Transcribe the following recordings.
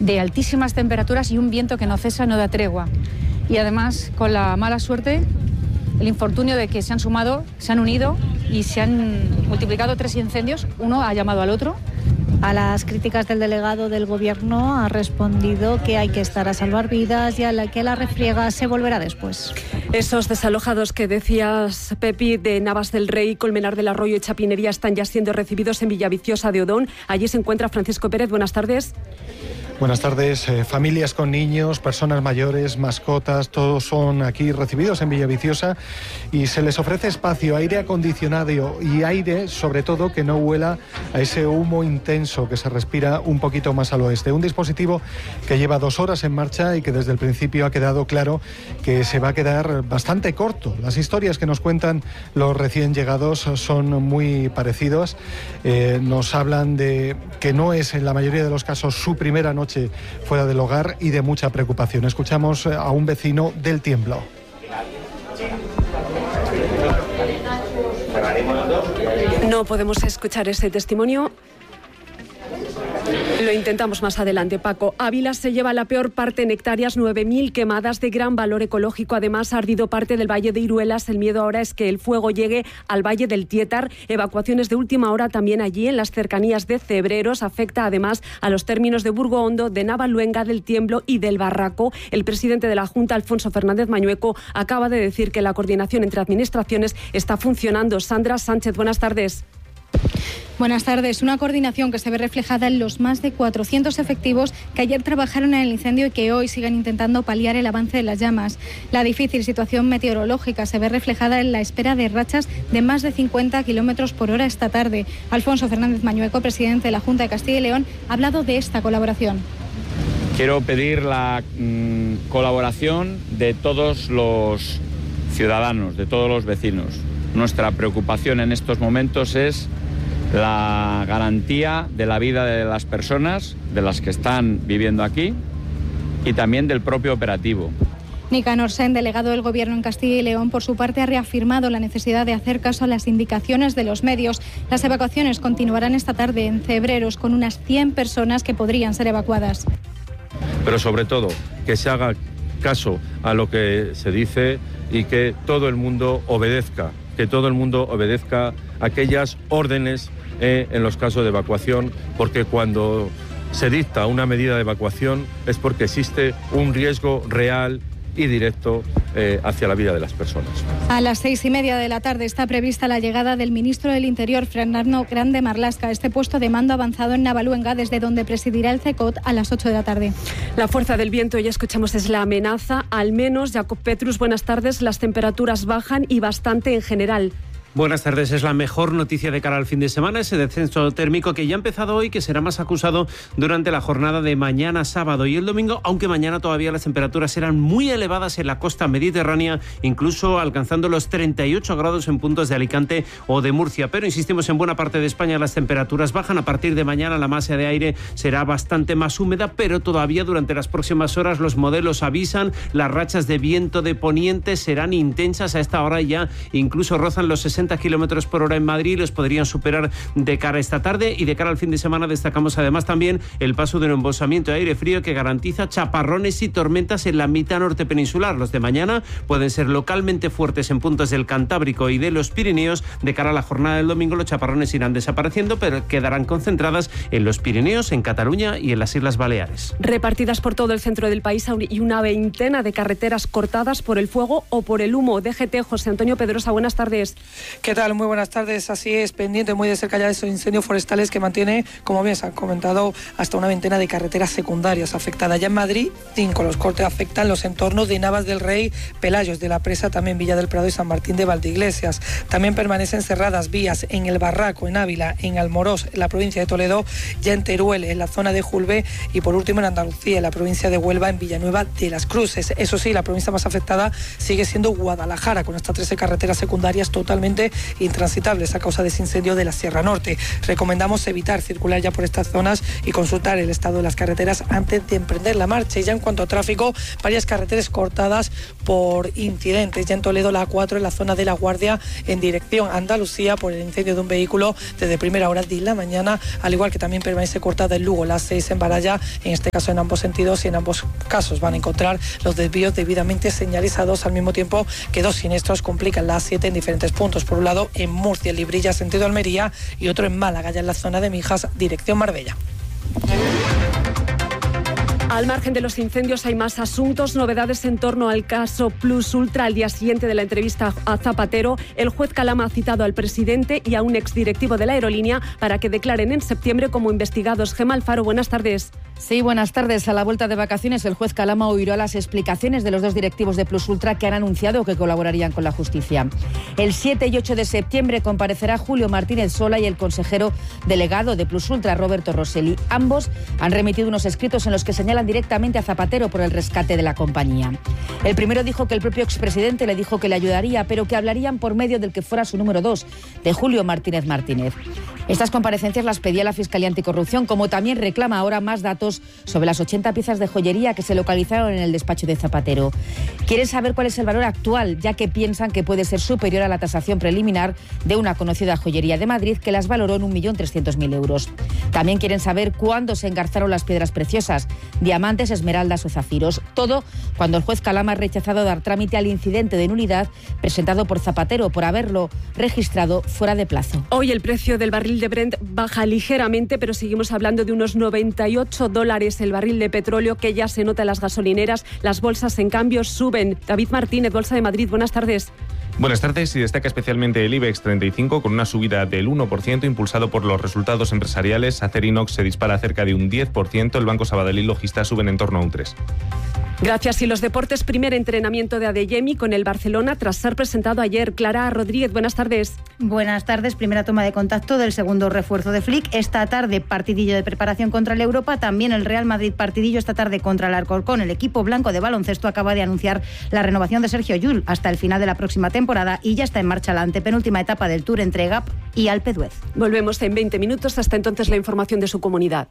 de altísimas temperaturas y un viento que no cesa, no da tregua. Y además con la mala suerte, el infortunio de que se han unido y se han multiplicado 3 incendios, uno ha llamado al otro. A las críticas del delegado del Gobierno ha respondido que hay que estar a salvar vidas y que la refriega se volverá después. Esos desalojados que decías, Pepi, de Navas del Rey, Colmenar del Arroyo y Chapinería están ya siendo recibidos en Villaviciosa de Odón. Allí se encuentra Francisco Pérez. Buenas tardes. Buenas tardes. Familias con niños, personas mayores, mascotas, todos son aquí recibidos en Villaviciosa y se les ofrece espacio, aire acondicionado y aire, sobre todo, que no huela a ese humo intenso que se respira un poquito más al oeste. Un dispositivo que lleva 2 horas en marcha y que desde el principio ha quedado claro que se va a quedar bastante corto. Las historias que nos cuentan los recién llegados son muy parecidas. Nos hablan de que no es en la mayoría de los casos su primera noche fuera del hogar y de mucha preocupación. Escuchamos a un vecino del Tiemblo. No podemos escuchar ese testimonio. Lo intentamos más adelante, Paco. Ávila se lleva la peor parte en hectáreas, 9.000 quemadas de gran valor ecológico. Además, ha ardido parte del Valle de Iruelas. El miedo ahora es que el fuego llegue al Valle del Tietar. Evacuaciones de última hora también allí, en las cercanías de Cebreros. Afecta además a los términos de Burgo Hondo, de Navaluenga, del Tiemblo y del Barraco. El presidente de la Junta, Alfonso Fernández Mañueco, acaba de decir que la coordinación entre administraciones está funcionando. Sandra Sánchez, buenas tardes. Buenas tardes. Una coordinación que se ve reflejada en los más de 400 efectivos que ayer trabajaron en el incendio y que hoy siguen intentando paliar el avance de las llamas. La difícil situación meteorológica se ve reflejada en la espera de rachas de más de 50 kilómetros por hora esta tarde. Alfonso Fernández Mañueco, presidente de la Junta de Castilla y León, ha hablado de esta colaboración. Quiero pedir la colaboración de todos los ciudadanos, de todos los vecinos. Nuestra preocupación en estos momentos es la garantía de la vida de las personas, de las que están viviendo aquí, y también del propio operativo. Nicanor Sen, delegado del Gobierno en Castilla y León, por su parte ha reafirmado la necesidad de hacer caso a las indicaciones de los medios. Las evacuaciones continuarán esta tarde en Cebreros con unas 100 personas que podrían ser evacuadas. Pero sobre todo, que se haga caso a lo que se dice y que todo el mundo obedezca, aquellas órdenes en los casos de evacuación, porque cuando se dicta una medida de evacuación es porque existe un riesgo real y directo hacia la vida de las personas. A las 6:30 de la tarde está prevista la llegada del ministro del Interior, Fernando Grande Marlaska, a este puesto de mando avanzado en Navaluenga, desde donde presidirá el CECOT a las 8 de la tarde. La fuerza del viento, ya escuchamos, es la amenaza. Al menos, Jacob Petrus, buenas tardes. Las temperaturas bajan y bastante en general. Buenas tardes. Es la mejor noticia de cara al fin de semana, ese descenso térmico que ya ha empezado hoy, que será más acusado durante la jornada de mañana sábado y el domingo, aunque mañana todavía las temperaturas serán muy elevadas en la costa mediterránea, incluso alcanzando los 38 grados en puntos de Alicante o de Murcia. Pero insistimos, en buena parte de España las temperaturas bajan. A partir de mañana la masa de aire será bastante más húmeda, pero todavía durante las próximas horas los modelos avisan, las rachas de viento de poniente serán intensas. A esta hora ya incluso rozan los 60 kilómetros por hora en Madrid, los podrían superar de cara a esta tarde, y de cara al fin de semana destacamos además también el paso de un embolsamiento de aire frío que garantiza chaparrones y tormentas en la mitad norte peninsular. Los de mañana pueden ser localmente fuertes en puntos del Cantábrico y de los Pirineos. De cara a la jornada del domingo los chaparrones irán desapareciendo, pero quedarán concentradas en los Pirineos, en Cataluña y en las Islas Baleares. Repartidas por todo el centro del país y una veintena de carreteras cortadas por el fuego o por el humo. DGT, José Antonio Pedrosa, buenas tardes. ¿Qué tal? Muy buenas tardes. Así es, pendiente muy de cerca ya de esos incendios forestales que mantiene, como bien se ha comentado, hasta una veintena de carreteras secundarias afectadas. Ya en Madrid, 5. Los cortes afectan los entornos de Navas del Rey, Pelayos de la Presa, también Villa del Prado y San Martín de Valdeiglesias. También permanecen cerradas vías en El Barraco, en Ávila, en Almorós, en la provincia de Toledo, ya en Teruel, en la zona de Julbe, y por último en Andalucía, en la provincia de Huelva, en Villanueva de las Cruces. Eso sí, la provincia más afectada sigue siendo Guadalajara, con hasta 13 carreteras secundarias totalmente completamente intransitables a causa de ese incendio de la Sierra Norte. Recomendamos evitar circular ya por estas zonas y consultar el estado de las carreteras antes de emprender la marcha. Y ya en cuanto a tráfico, varias carreteras cortadas por incidentes. Ya en Toledo la A4 en la zona de La Guardia en dirección a Andalucía por el incendio de un vehículo desde primera hora de la mañana, al igual que también permanece cortada en Lugo la 6 en Baralla, en este caso en ambos sentidos, y en ambos casos van a encontrar los desvíos debidamente señalizados, al mismo tiempo que dos siniestros complican la A7 en diferentes puntos. Por un lado en Murcia, en Librilla, sentido Almería, y otro en Málaga, ya en la zona de Mijas, dirección Marbella. Al margen de los incendios hay más asuntos, novedades en torno al caso Plus Ultra. Al día siguiente de la entrevista a Zapatero, el juez Calama ha citado al presidente y a un exdirectivo de la aerolínea para que declaren en septiembre como investigados. Gemma Alfaro, buenas tardes. Sí, buenas tardes. A la vuelta de vacaciones, el juez Calama oirá las explicaciones de los dos directivos de Plus Ultra que han anunciado que colaborarían con la justicia. El 7 y 8 de septiembre comparecerá Julio Martínez Sola y el consejero delegado de Plus Ultra, Roberto Rosselli. Ambos han remitido unos escritos en los que señalan directamente a Zapatero por el rescate de la compañía. El primero dijo que el propio expresidente le dijo que le ayudaría, pero que hablarían por medio del que fuera su número 2, de Julio Martínez Martínez. Estas comparecencias las pedía la Fiscalía Anticorrupción, como también reclama ahora más datos sobre las 80 piezas de joyería que se localizaron en el despacho de Zapatero. Quieren saber cuál es el valor actual, ya que piensan que puede ser superior a la tasación preliminar de una conocida joyería de Madrid que las valoró en 1.300.000 euros. También quieren saber cuándo se engarzaron las piedras preciosas, diamantes, esmeraldas o zafiros. Todo cuando el juez Calama ha rechazado dar trámite al incidente de nulidad presentado por Zapatero por haberlo registrado fuera de plazo. Hoy el precio del barril de Brent baja ligeramente, pero seguimos hablando de unos $98 el barril de petróleo, que ya se nota en las gasolineras. Las bolsas, en cambio, suben. David Martínez, Bolsa de Madrid, buenas tardes. Buenas tardes. Y destaca especialmente el IBEX 35 con una subida del 1% impulsado por los resultados empresariales. Acerinox se dispara cerca de un 10%, el Banco Sabadell y Logista suben en torno a un 3%. Gracias. Y los deportes, primer entrenamiento de Adeyemi con el Barcelona tras ser presentado ayer. Clara Rodríguez, buenas tardes. Buenas tardes. Primera toma de contacto del segundo refuerzo de Flick. Esta tarde partidillo de preparación contra el Europa. También el Real Madrid partidillo esta tarde contra el Alcorcón. El equipo blanco de baloncesto acaba de anunciar la renovación de Sergio Llull hasta el final de la próxima temporada y ya está en marcha la antepenúltima etapa del Tour entre Gap y Alpe d'Huez. Volvemos en 20 minutos. Hasta entonces la información de su comunidad.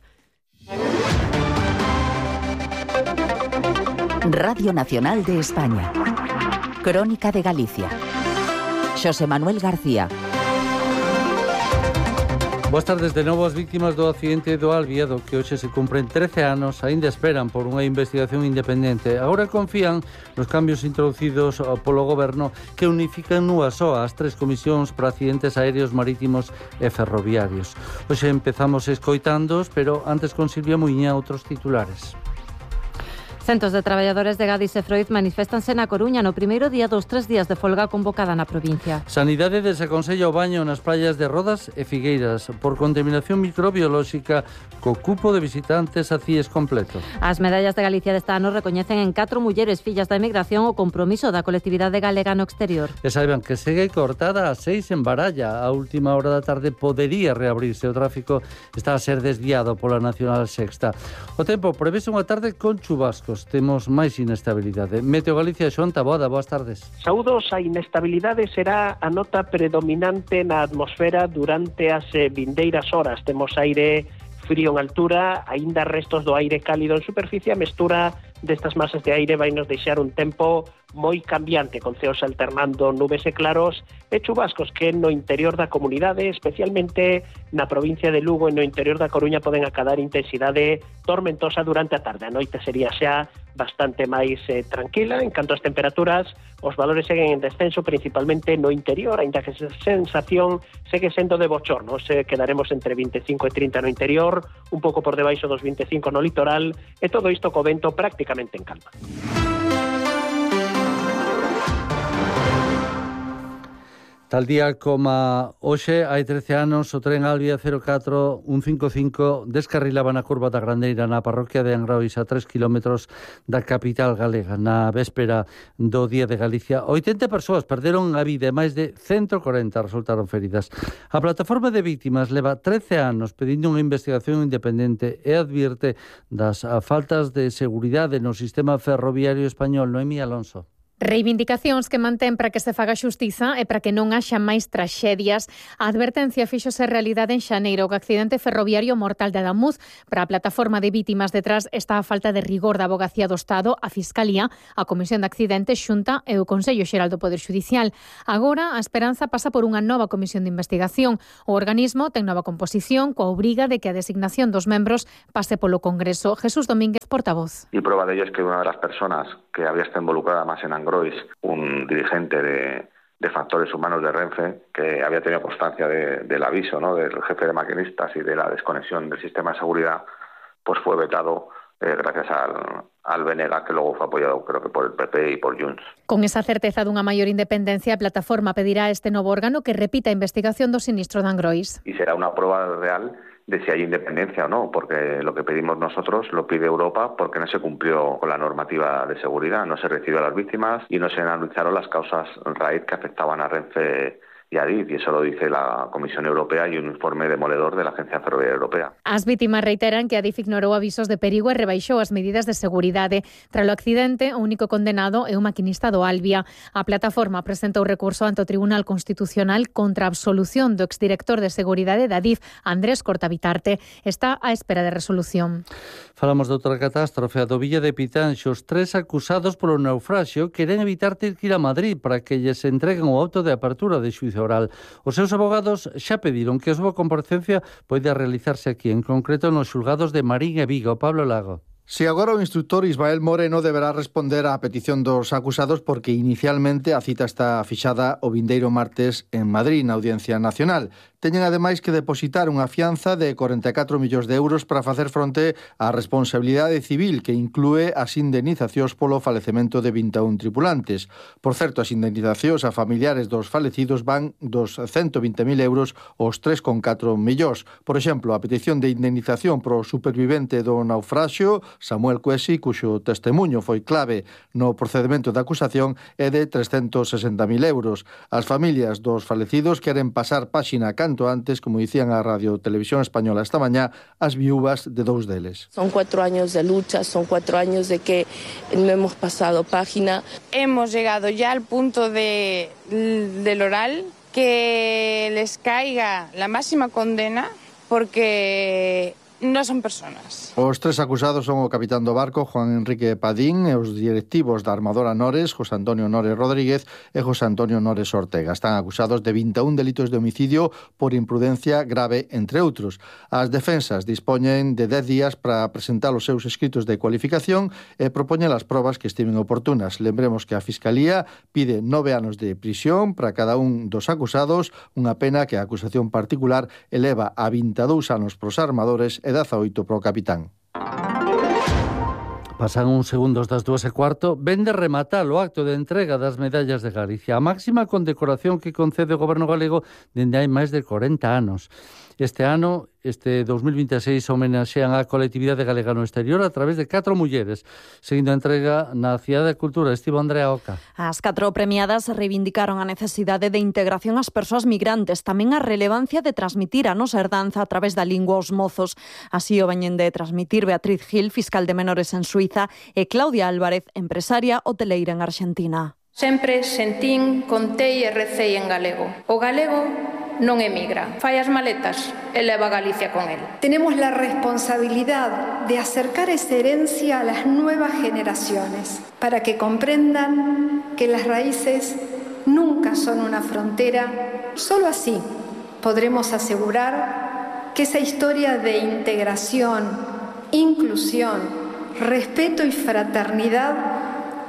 Radio Nacional de España. Crónica de Galicia. Xosé Manuel García. Boas tardes. De novo, as víctimas do accidente do Alviedo, que hoxe se cumpren 13 anos, aínda esperan por unha investigación independente. Agora confían nos cambios introducidos polo Goberno que unifican nunha soa as tres comisións para accidentes aéreos, marítimos e ferroviarios. Hoxe empezamos escoitándoos, pero antes con Silvia Muiña outros titulares. Centos de traballadores de Gadis e Freud maniféstanse na Coruña no primeiro día dos 3 días de folga convocada na provincia. Sanidade desaconsella o baño nas praias de Rodas e Figueiras por contaminación microbiolóxica co cupo de visitantes a CIES completo. As medallas de Galicia deste ano recoñecen en 4 mulleres fillas da emigración o compromiso da colectividade galega no exterior. E saiban que segue cortada a 6 en Baralla. A última hora da tarde podería reabrirse. O tráfico está a ser desviado pola Nacional Sexta. O tempo prevese unha tarde con chubascos. Temos máis inestabilidade. Meteo Galicia, Xoán Taboada, boas tardes. Saúdos, a inestabilidade será a nota predominante na atmosfera durante as vindeiras horas. Temos aire frío en altura, aínda restos do aire cálido en superficie. A mestura destas masas de aire vai nos deixar un tempo moi cambiante, con ceos alternando nubes e claros e chubascos que no interior da comunidade, especialmente na provincia de Lugo e no interior da Coruña, poden acadar intensidade tormentosa durante a tarde. A noite sería xa bastante máis tranquila. En canto ás temperaturas, os valores seguen en descenso, principalmente no interior, aínda que a sensación segue sendo de bochorno. Quedaremos entre 25 e 30 no interior, un pouco por debaixo dos 25 no litoral, e todo isto co vento prácticamente en calma. Tal día como hoxe, hai 13 anos, o tren Alvia 04155 descarrilaba na curva da Grandeira na parroquia de Angrois, a 3 kilómetros da capital galega. Na véspera do Día de Galicia, 80 persoas perderon a vida e máis de 140 resultaron feridas. A plataforma de vítimas leva 13 anos pedindo unha investigación independente e advirte das faltas de seguridade no sistema ferroviario español. Noemí Alonso. Reivindicacións que mantén para que se faga xustiza e para que non haxa máis traxedias. A advertencia fíxose realidade en xaneiro co accidente ferroviario mortal de Adamuz. Para a plataforma de vítimas detrás está a falta de rigor da Avogacía do Estado, a Fiscalía, a Comisión de Accidentes, Xunta e o Consello Xeral do Poder Xudicial. Agora, a esperanza pasa por unha nova comisión de investigación. O organismo ten nova composición coa obriga de que a designación dos membros pase polo Congreso. Jesús Domínguez, portavoz. Y prueba de ello es que una de las personas que había estado involucrada más en Angrois, un dirigente de factores humanos de Renfe, que había tenido constancia del aviso, ¿no?, del jefe de maquinistas y de la desconexión del sistema de seguridad, pues fue vetado gracias al BNG, que luego fue apoyado, creo que por el PP y por Junts. Con esa certeza dunha maior independencia, a plataforma pedirá a este novo órgano que repita a investigación do sinistro de Angrois. Y será una prueba real de si hay independencia o no, porque lo que pedimos nosotros lo pide Europa porque no se cumplió con la normativa de seguridad, no se recibió a las víctimas y no se analizaron las causas raíz que afectaban a Renfe y a Adif, y eso lo dice la Comisión Europea y un informe demoledor de la Agencia Ferroviaria Europea. As vítimas reiteran que Adif ignorou avisos de perigo e rebaixou as medidas de seguridade. Tras o accidente, o único condenado é o maquinista do Albia. A plataforma presentou recurso ante o Tribunal Constitucional contra a absolución do exdirector de seguridade da Adif, Andrés Cortabitarte. Está á espera de resolución. Falamos de outra catástrofe, a do Villa de Pitanxo. Os 3 acusados polo naufraxio queren evitar ter que ir a Madrid para que lles entreguen o auto de apertura de xuízo oral. Os seus abogados xa pediron que a súa comparecencia poida realizarse aquí, en concreto nos xulgados de Marín e Vigo. Pablo Lago. Si agora o instructor Ismael Moreno deberá responder á petición dos acusados porque inicialmente a cita está fixada o vindeiro martes en Madrid, na Audiencia Nacional. Teñen ademais que depositar unha fianza de 44 millóns de euros para facer fronte á responsabilidade civil que inclúe as indemnizacións polo falecemento de 21 tripulantes. Por certo, as indemnizacións a familiares dos falecidos van dos 120.000 euros aos 3,4 millóns. Por exemplo, a petición de indemnización pro supervivente do naufraxio, Samuel Cuesi, cuxo testemunho foi clave no procedimento de acusación, é de 360.000 euros. As familias dos falecidos queren pasar páxina canto antes, como dicían a Radio Televisión Española esta mañá, as viúvas de 2 deles. Son 4 años de lucha, son 4 años de que no hemos pasado página. Hemos llegado ya al punto del oral, que les caiga la máxima condena porque no son personas. Os 3 acusados son o capitán do barco, Juan Enrique Padín, e os directivos da armadora Nores, José Antonio Nores Rodríguez e José Antonio Nores Ortega. Están acusados de 21 delitos de homicidio por imprudencia grave, entre outros. As defensas dispoñen de 10 días para presentar os seus escritos de cualificación e propoñen as probas que estimen oportunas. Lembremos que a Fiscalía pide 9 anos de prisión para cada un dos acusados, unha pena que a acusación particular eleva a 22 anos pros armadores e 18 pro capitán. Pasan uns segundos das 2:15. Ven de rematar o acto de entrega das medallas de Galicia, a máxima condecoración que concede o Goberno galego dende hai máis de 40 anos. Este ano, este 2026, homenaxean a colectividade galega no exterior a través de 4 mulleres, seguindo a entrega na Cidade da Cultura. Estivo Andrea Oca. As 4 premiadas reivindicaron a necesidade de integración ás persoas migrantes, tamén a relevancia de transmitir a nosa herdanza a través da lingua aos mozos. Así o veñen de transmitir Beatriz Gil, fiscal de menores en Suiza, e Claudia Álvarez, empresaria hoteleira en Argentina. Sempre sentín, contei e recei en galego. O galego non emigra, fai as maletas e leva a Galicia con él. Tenemos la responsabilidad de acercar esa herencia a las nuevas generaciones para que comprendan que las raíces nunca son una frontera. Solo así podremos asegurar que esa historia de integración, inclusión, respeto y fraternidad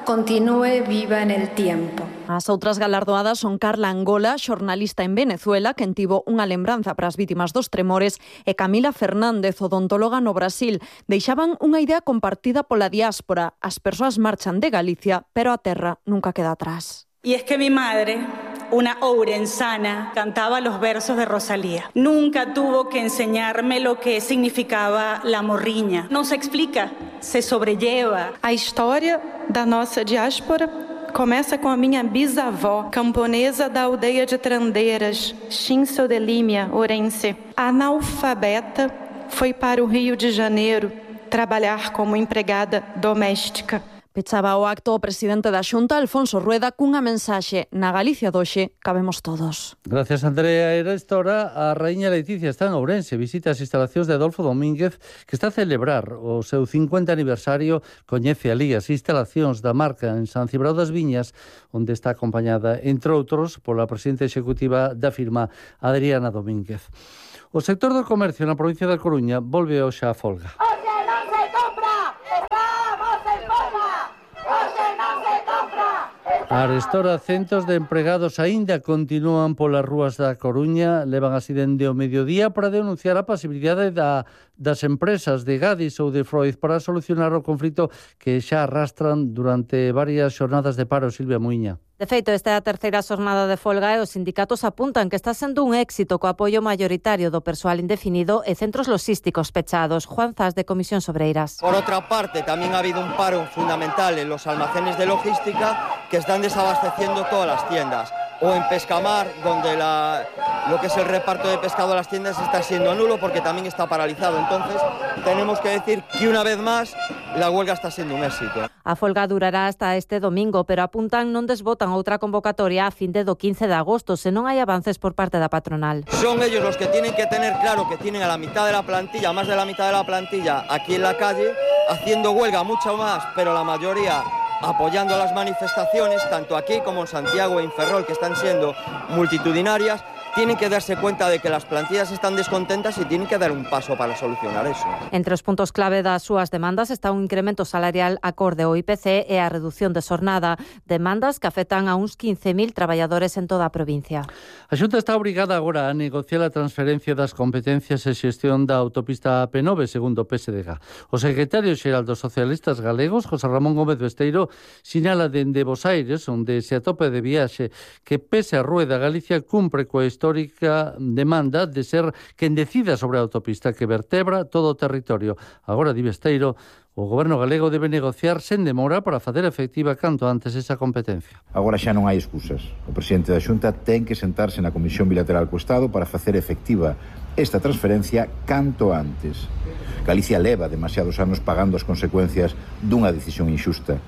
continúe viva en el tiempo. As outras galardoadas son Carla Angola, xornalista en Venezuela, quen tivo unha lembranza para as vítimas dos tremores, e Camila Fernández, odontóloga no Brasil. Deixaban unha idea compartida pola diáspora. As persoas marchan de Galicia, pero a terra nunca queda atrás. Y es que mi madre, una ourensana, cantaba los versos de Rosalía. Nunca tuvo que enseñarme lo que significaba la morriña. No se explica, se sobrelleva. A história da nossa diáspora começa com a minha bisavó, camponesa da aldeia de Trandeiras, Xinsodelímia, Ourense. Analfabeta, foi para o Rio de Janeiro trabalhar como empregada doméstica. Pechaba o acto o presidente da Xunta, Alfonso Rueda, cunha mensaxe: na Galicia doxe cabemos todos. Gracias, Andrea. Era esta hora a Raíña Leticia está en Ourense, visita as instalacións de Adolfo Domínguez, que está a celebrar o seu 50 aniversario. Coñece alí as instalacións da marca en San Cibrao das Viñas, onde está acompañada, entre outros, pola presidenta executiva da firma, Adriana Domínguez. O sector do comercio na provincia da Coruña volve hoxe á folga. A arestora, centos de empregados aínda continúan polas rúas da Coruña, levan así dende o mediodía para denunciar a pasibilidade das empresas de Gadis ou de Freud para solucionar o conflito que xa arrastran durante varias xornadas de paro. Silvia Muiña. De feito, esta é a terceira xornada de folga e os sindicatos apuntan que está sendo un éxito co apoio mayoritario do persoal indefinido e centros logísticos pechados. Juan Zas, de Comisións Obreiras. Por outra parte, tamén ha habido un paro fundamental en los almacenes de logística que están desabasteciendo todas las tiendas. O en Pescamar, donde lo que es el reparto de pescado a las tiendas está siendo nulo porque también está paralizado. Entonces, tenemos que decir que una vez más la huelga está siendo un éxito. A folga durará hasta este domingo, pero apuntan non desbotan outra convocatoria a fin de do 15 de agosto, se non hai avances por parte da patronal. Son ellos los que tienen que tener claro que tienen a la mitad de la plantilla, más de la mitad de la plantilla aquí en la calle, haciendo huelga mucho más, pero la mayoría apoyando las manifestaciones, tanto aquí como en Santiago e en Ferrol, que están siendo multitudinarias. Tienen que darse cuenta de que las plantillas están descontentas y tienen que dar un paso para solucionar eso. Entre os puntos clave das súas demandas está un incremento salarial acorde ao IPC e a reducción de xornada, demandas que afectan a uns 15.000 traballadores en toda a provincia. A Xunta está obrigada agora a negociar a transferencia das competencias e xestión da autopista AP9, segundo o PSDG. O secretario xeral dos socialistas galegos, José Ramón Gómez Besteiro, sinala dende Bos Aires, onde se atope de viaxe, que pese a Rueda, Galicia cumpre coa histórica demanda de ser quen decida sobre a autopista que vertebra todo o territorio. Agora, di Besteiro, o goberno galego debe negociar sen demora para facer efectiva canto antes esa competencia. Agora xa non hai excusas. O presidente da Xunta ten que sentarse na Comisión Bilateral co Estado para facer efectiva esta transferencia canto antes. Galicia leva demasiados anos pagando as consecuencias dunha decisión inxusta.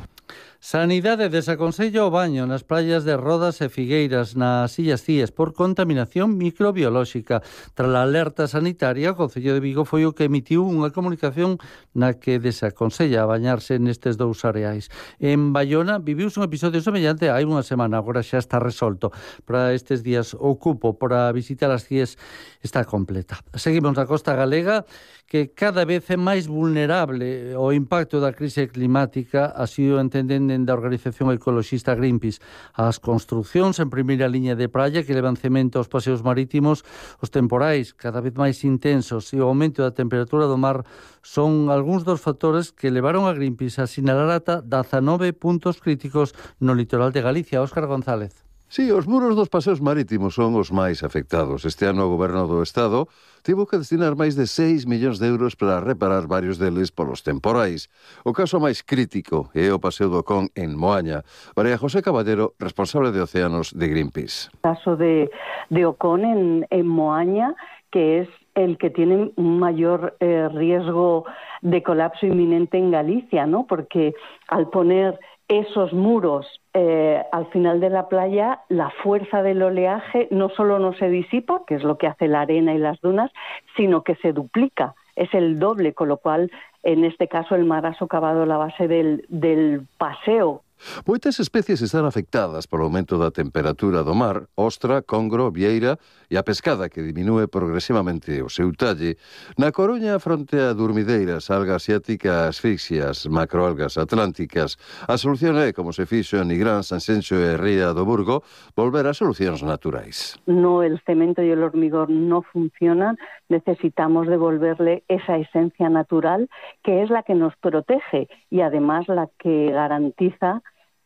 Sanidade desaconsella o baño nas praias de Rodas e Figueiras nas Illas Cíes por contaminación microbiolóxica. Tras a alerta sanitaria, o Concello de Vigo foi o que emitiu unha comunicación na que desaconsella bañarse nestes dous areais. En Baiona viviuse un episodio semellante hai unha semana, agora xa está resolto. Para estes días o cupo para visitar as Cíes está completa. Seguimos na costa galega, que cada vez é máis vulnerable ao impacto da crise climática, así o entenden da organización ecoloxista Greenpeace. As construcións en primeira liña de praia que levan cemento aos paseos marítimos, os temporais cada vez máis intensos e o aumento da temperatura do mar son algúns dos factores que levaron a Greenpeace a sinalar ata 19 puntos críticos no litoral de Galicia. Óscar González. Sí, os muros dos paseos marítimos son os máis afectados. Este ano o Goberno do Estado tivo que destinar máis de 6 millóns de euros para reparar varios deles polos temporais. O caso máis crítico é o Paseo do Con en Moaña. María José Caballero, responsable de Océanos de Greenpeace. El caso de Ocon en Moaña, que es el que tiene un mayor riesgo de colapso inminente en Galicia, ¿no? Porque al poner esos muros al final de la playa, la fuerza del oleaje no solo no se disipa, que es lo que hace la arena y las dunas, sino que se duplica, es el doble, con lo cual en este caso el mar ha socavado la base del paseo. Moitas especies están afectadas polo aumento da temperatura do mar, ostra, congro, vieira e a pescada que diminúe progresivamente o seu talle. Na Coruña, fronte a durmideiras, algas asiáticas, asfixias, macroalgas atlánticas, a solución é, como se fixo en Nigrán, Sanxenxo e Ría do Burgo, volver a solucións naturais. No, el cemento y el hormigón no funcionan, necesitamos devolverle esa esencia natural que es la que nos protege y además la que garantiza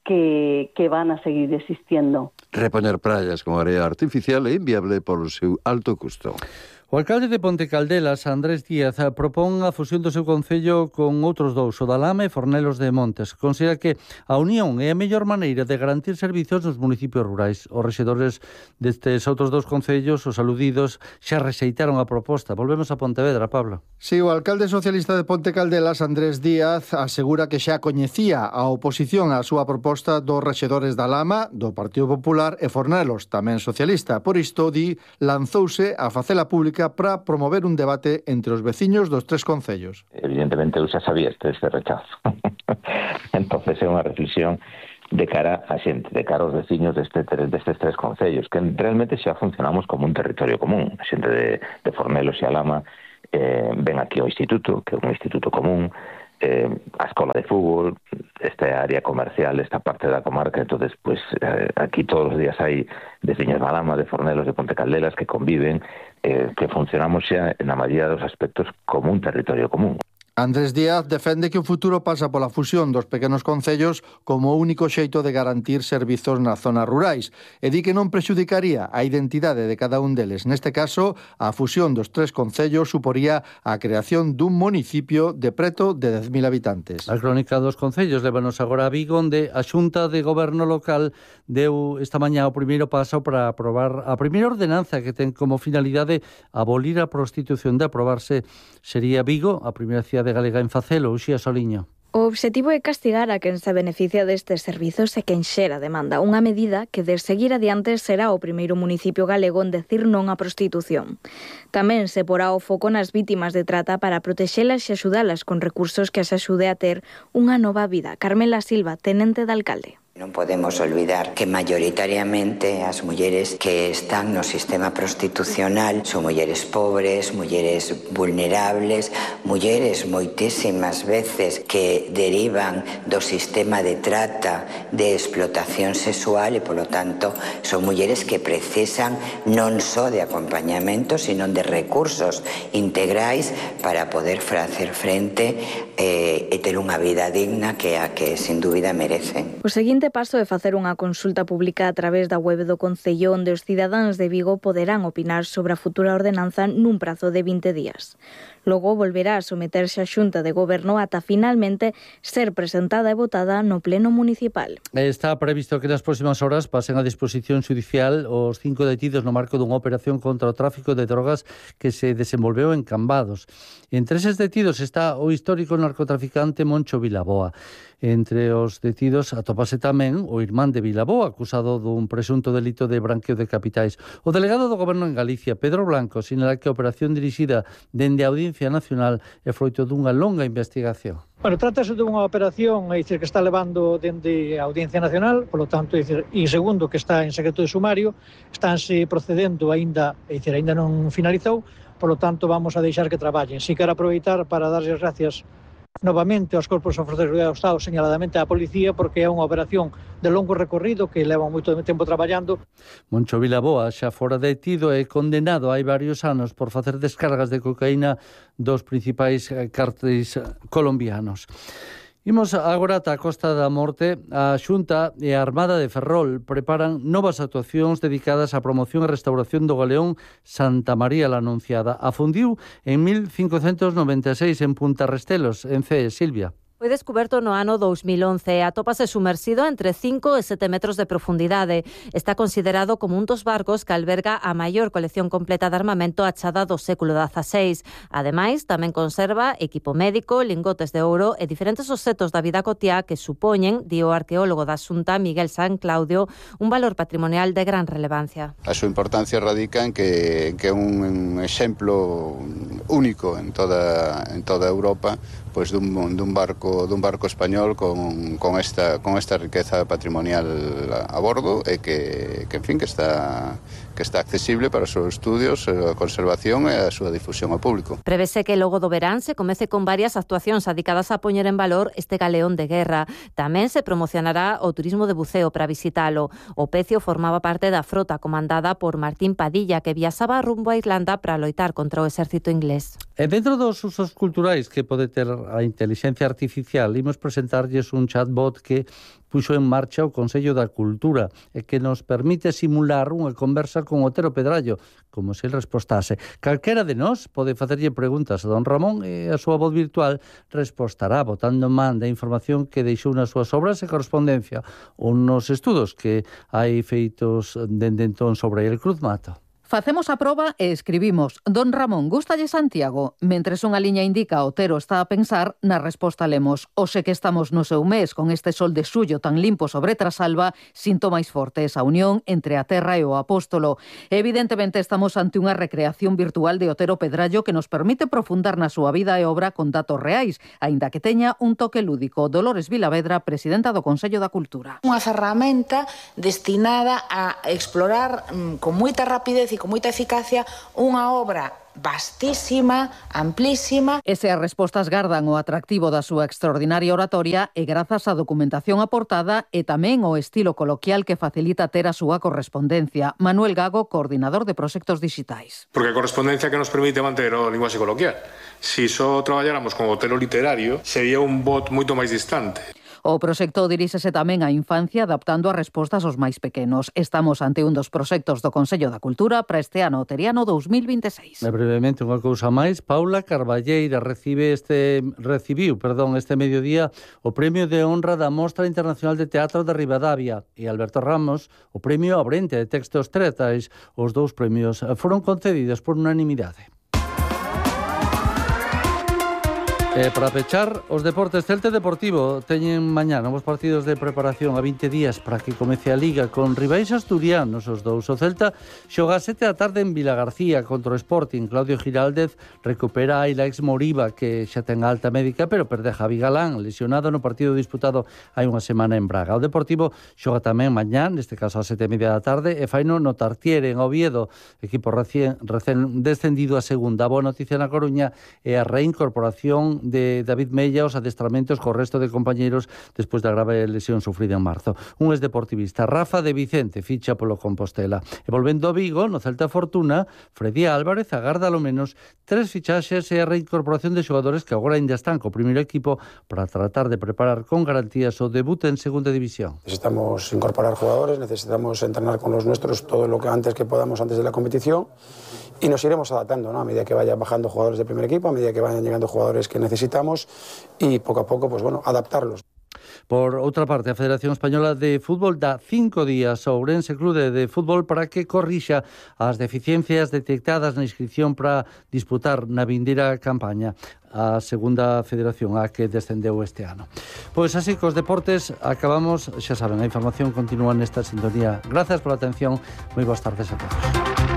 que van a seguir existiendo. Repoñer praias con area artificial é inviable polo seu alto custo. O alcalde de Ponte Caldelas, Andrés Díaz, propón a fusión do seu concello con outros dous, o da Lama e Fornelos de Montes. Considera que a unión é a mellor maneira de garantir servizos nos municipios rurais. Os rexedores destes outros dous concellos, os aludidos, xa rexeitaron a proposta. Volvemos a Pontevedra, Pablo. Sí, o alcalde socialista de Ponte Caldelas, Andrés Díaz, asegura que xa coñecía a oposición á súa proposta dos rexedores da Lama, do Partido Popular e Fornelos, tamén socialista. Por isto, di, lanzouse a facela pública para promover un debate entre os veciños dos tres concellos. Evidentemente, eu xa sabía este rechazo. Entonces, é unha reflexión de cara a xente, de cara aos veciños destes tres concellos, que realmente xa funcionamos como un territorio común. A xente de Fornelos e a Lama ven aquí ao instituto, que é un instituto común, a escola de fútbol, esta área comercial, esta parte da comarca. Entonces, pues aquí todos os días hai veciños da Lama, de Fornelos, de Ponte Caldelas que conviven, que funcionamos xa na maioría dos aspectos como un territorio común. Andrés Díaz defende que o futuro pasa pola fusión dos pequenos concellos como o único xeito de garantir servizos nas zonas rurais e di que non prexudicaría a identidade de cada un deles. Neste caso, a fusión dos tres concellos suporía a creación dun municipio de preto de 10.000 habitantes. A crónica dos concellos lévanos agora a Vigo, onde a Xunta de Goberno local deu esta mañá o primeiro paso para aprobar a primeira ordenanza que ten como finalidade abolir a prostitución. De aprobarse sería Vigo, a primeira cidade galega en facelo. Uxía Soliño. O obxectivo é castigar a quen se beneficia destes servizos e quen xera demanda. Unha medida que, de seguir adiante, será o primeiro municipio galego en decir non á prostitución. Tamén se porá o foco nas vítimas de trata para protexelas e axudalas con recursos que as axude a ter unha nova vida. Carmela Silva, tenente de alcalde. Non podemos olvidar que maioritariamente as mulleres que están no sistema prostitucional son mulleres pobres, mulleres vulnerables, mulleres moitísimas veces que derivan do sistema de trata, de explotación sexual e, polo tanto, son mulleres que precisan non só de acompañamento, sino de recursos integrais para poder facer frente e ter unha vida digna que a que, sin dúbida, merecen. O seguinte paso é facer unha consulta pública a través da web do Concello, onde os cidadáns de Vigo poderán opinar sobre a futura ordenanza nun prazo de 20 días. Logo volverá a someterse á Xunta de Goberno ata finalmente ser presentada e votada no Pleno Municipal. Está previsto que nas próximas horas pasen a disposición judicial os 5 detidos no marco dunha operación contra o tráfico de drogas que se desenvolveu en Cambados. Entre eses detidos está o histórico narcotraficante Moncho Vilaboa. Entre os detidos atópase tamén o irmán de Vilaboa, acusado dun presunto delito de branqueo de capitais. O delegado do Goberno en Galicia, Pedro Blanco, sinala que a operación dirixida dende a Audiencia Nacional é froito dunha longa investigación. Bueno, trátase dunha operación, é dicir, que está levando dende a Audiencia Nacional, polo tanto, é dicir, e segundo que está en secreto de sumario, estánse procedendo aínda, é dicir, aínda non finalizou, polo tanto, vamos a deixar que traballen. Si quero aproveitar para darles gracias novamente aos corpos de seguridade do Estado, señaladamente á policía, porque é unha operación de longo recorrido que leva moito tempo traballando. Moncho Vilaboa xa fora detido e condenado hai varios anos por facer descargas de cocaína dos principais cárteles colombianos. Imos agora ata a Costa da Morte. A Xunta e a Armada de Ferrol preparan novas actuacións dedicadas á promoción e restauración do galeón Santa María la Anunciada. Afundiu en 1596 en Punta Restelos, en Cee. Silvia. Foi descuberto no ano 2011 e atópase sumersido entre 5 e 7 metros de profundidade. Está considerado como un dos barcos que alberga a maior colección completa de armamento achada do século XVI. Ademais, tamén conserva equipo médico, lingotes de ouro e diferentes obxetos da vida cotiá que supoñen, di o arqueólogo da Xunta, Miguel San Claudio, un valor patrimonial de gran relevancia. A súa importancia radica en que é un exemplo único en toda Europa, pois dun barco español con esta riqueza patrimonial a bordo e que en fin, que está accesible para os seus estudios, a conservación e a súa difusión ao público. Prevese que logo do verán se comece con varias actuacións dedicadas a poñer en valor este galeón de guerra. Tamén se promocionará o turismo de buceo para visitalo. O Pecio formaba parte da frota comandada por Martín Padilla, que viaxaba rumbo a Irlanda para loitar contra o exército inglés. E dentro dos usos culturais que pode ter a inteligencia artificial, imos presentarlles un chatbot que puxo en marcha o Consello da Cultura e que nos permite simular unha conversa con Otero Pedrallo, como se ele respostase. Calquera de nós pode facerlle preguntas a don Ramón e a súa voz virtual respostará botando man da información que deixou nas súas obras e correspondencia ou nos estudos que hai feitos dende entón sobre el Cruz Mato. Facemos a proba e escribimos: Don Ramón, gústalle Santiago? Mentres unha liña indica Otero está a pensar, na resposta lemos: hoxe que estamos no seu mes, con este sol de xullo tan limpo sobre Trasalba, sinto máis forte esa unión entre a terra e o apóstolo. Evidentemente estamos ante unha recreación virtual de Otero Pedrallo que nos permite profundar na súa vida e obra con datos reais, aínda que teña un toque lúdico. Dolores Vilavedra, presidenta do Consello da Cultura. Unha ferramenta destinada a explorar con moita rapidez e con moita eficacia unha obra vastísima, amplísima. E se as respostas gardan o atractivo da súa extraordinaria oratoria e grazas á documentación aportada e tamén o estilo coloquial que facilita ter a súa correspondencia. Manuel Gago, coordinador de proxectos digitais. Porque a correspondencia que nos permite manter o linguaxe coloquial. Si só traballáramos con o Otero literario, sería un bot moito máis distante. O proxecto diríxese tamén á infancia adaptando as respostas aos máis pequenos. Estamos ante un dos proxectos do Consello da Cultura para este ano oteriano 2026. Brevemente, unha cousa máis. Paula Carballeira recibiu este mediodía o Premio de Honra da Mostra Internacional de Teatro de Ribadavia e Alberto Ramos o Premio Abrente de Textos Teatrais. Os dous premios foron concedidos por unanimidade. Para pechar, os deportes, Celta Deportivo teñen mañá novos partidos de preparación a 20 días para que comece a Liga con rivais asturianos os dous. O Celta xoga a 7 da tarde en Vilagarcía contra o Sporting. Claudio Giraldez recupera a Ilaix Moriba, que xa ten alta médica, pero perde a Javi Galán, lesionado no partido disputado hai unha semana en Braga. O Deportivo xoga tamén mañá, neste caso a 7:30 da tarde, e faino no Tartiere, en Oviedo, equipo recén descendido a segunda. A boa noticia na Coruña é a reincorporación de David Mella aos adestramentos co resto de compañeiros despois da grave lesión sufrida en marzo. Un exdeportivista, Rafa de Vicente, ficha polo Compostela. E volvendo a Vigo, no Celta Fortuna, Freddy Álvarez agarda ao menos 3 fichaxes e a reincorporación de xogadores que agora ainda están co primeiro equipo para tratar de preparar con garantías o debut en segunda división. Necesitamos incorporar jugadores, necesitamos entrenar con los nuestros todo lo que antes que podamos antes de la competición. Y nos iremos adaptando, ¿no? A medida que vayan bajando jugadores del primer equipo, a medida que vayan llegando jugadores que necesitamos y poco a poco, pues bueno, adaptarlos. Por outra parte, a Federación Española de Fútbol dá 5 días ao Ourense Clube de Fútbol para que corrixa as deficiencias detectadas na inscripción para disputar na vindeira campaña a segunda federación a que descendeu este ano. Pois así, cos deportes acabamos. Xa saben, a información continúa nesta sintonía. Grazas pola atención, moi boas tardes a todos.